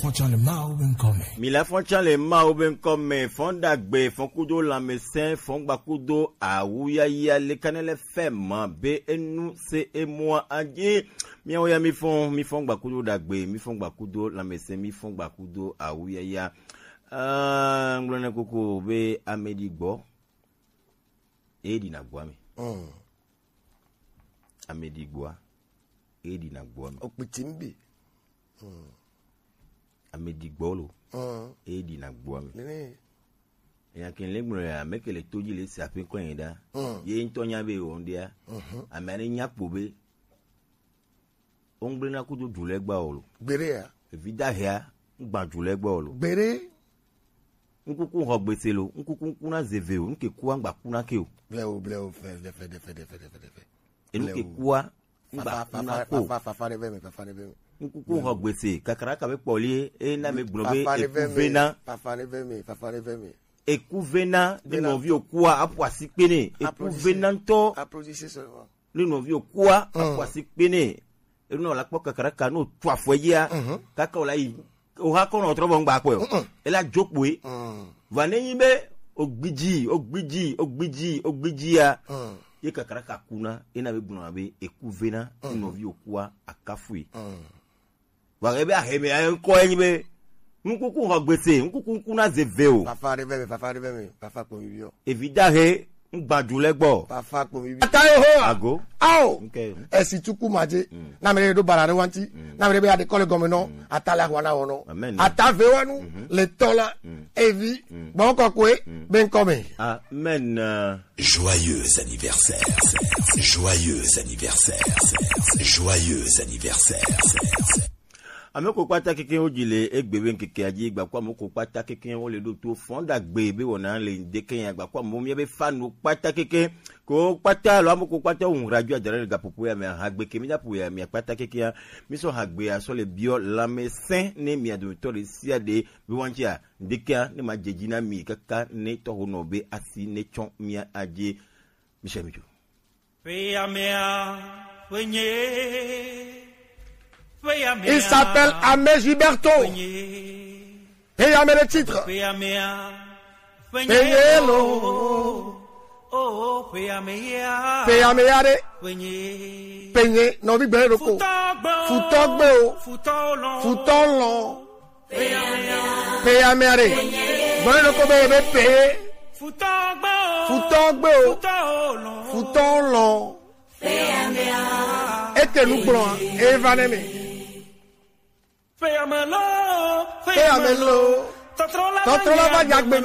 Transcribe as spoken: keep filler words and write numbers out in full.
Fɔn can le Mawu be ŋkɔ me. Mi la fɔn can le Mawu be ŋkɔ me. Fɔn ɖagbe, fɔn kudo lanmɛsɛn, fɔn gba kudo awuyaya le kanɛ lɛ fɛ ma be enu se emua aji. Miawo ya mi fɔn, mi fɔn gba kudo ɖagbe, mi fɔn gba kudo lanmɛsɛn, mi fɔn gba kudo awuyaya. Ah, ŋgblɔ ne koko be ame ɖi gbɔ, e ɖi na gbɔ ame. Mm. Ame ɖi gbɔa, e ɖi na gbɔ ame. Okpiti mbi. Mm. Ame ɖi gbɔ lo. Mm. E ɖi na gbɔ ame. Nene. Eya ke le gblɔ ya, ame ke le to dzi le se aƒe kɔ yin ɖa. Mm. Ye ŋutɔ nya be wɔ ŋɖia. Mhm. Ame ne nya kpo be, o ŋgble na kudo du le gba o lo. Gbere ya. Evi da hea, ŋgba du le gba o lo. Gbere. Ŋkuku xɔ gbese lo, ŋkuku ŋku na zeve o, ŋke kua ŋgba ku na ke o. Ble o, ble o, fe, fe, fe, fe. Enu ke kua, ŋgba kuna ko. Fafa, fafa, fafa ɖe ve me, fafa ɖe ve me. Ŋkuku xɔ gbese, kakaraka be kpɔli, e na me gblɔ be fafa ɖe ve eku me, vena. Fafa ɖe ve me, fafa ɖe ve me. Eku vena, ne nɔvi okua, aƒo asi kpe nɛ. Eku vena ŋutɔ. Applaudissez seulement. Ne nɔvi okua, aƒo asi kpe nɛ. Enu na wòla kpɔ kakaraka, ne otu afɔ edzia, kaka wòla yi. Oha kɔ nɔ trɔ bɔ ŋgba kpɔe o. Mm-mm. Ela dzo kpoe. Mm. Vɔ ne nyi be ogbidzi, ogbidzi, ogbidzi, ogbidzi ya. Mm. Ye kakaraka kuna, ena be gblɔna be eku vena, nɔvi okua akafui. Mm. Vɔ ebe aheme ya ŋkɔ enyi be, ŋkuku xɔ gbese, ŋkuku ŋku na ze ve o. Fafa ɖe ve me, fafa ɖe ve me, fafa kpo mi biɔ. Evi dahe, ŋgba du le gbɔ. Fafa kpo mi biɔ. Ata Yehowa. Ago. Ao. Esi tuku madze. Mm. Na me ɖe ɖo bara ɖe wanti. Mm. Na me ɖe be aɖe kɔ le gɔme nɔ. Mm. Ata le ahwana wɔnɔ. Amen. Ata ve wanu. Mhm. Le tɔ la. Mm. Evi. Mm. Gbɔn kɔkɔe. Mm. Be ŋkɔ me. Amen. Joyeux anniversaire. Joyeux anniversaire. Joyeux anniversaire. Ame ko kpata keke wo dzi le egbe be ŋkeke adzi gba ko ame ko kpata keke wo le ɖo to fɔn ɖagbe be wɔna le ŋdeke ya gba ko ame mia be fanu kpata keke ko kpata lo ame ko kpata wo ŋra dzi adara le gapopo ya me ha gbe ke mi da po ya mi kpata keke ya mi sɔ ha gbe ya sɔ le biɔ lanmɛsɛn ne mi adometɔ ɖe sia ɖe be wa ŋtsi a ŋdeke ya ne ma dze dzi na mi kaka ne tɔ ho nɔ be asi ne tsɔ mia adzi. Michel Mijo. Il s'appelle Amé Gilberto. Peyame le titre. Peyelo. Peyame ya de. Penye, nɔvi gbɛ ɖoko. Futɔ gbe o. Futɔ lɔn. Peyame ya de. Gbɛ ɖoko be be peye. Futɔ gbe o. Futɔ lɔn. Ete nu gblɔ, eva ne me. Peyame lo. Tɔtrɔ la va nya gbe me.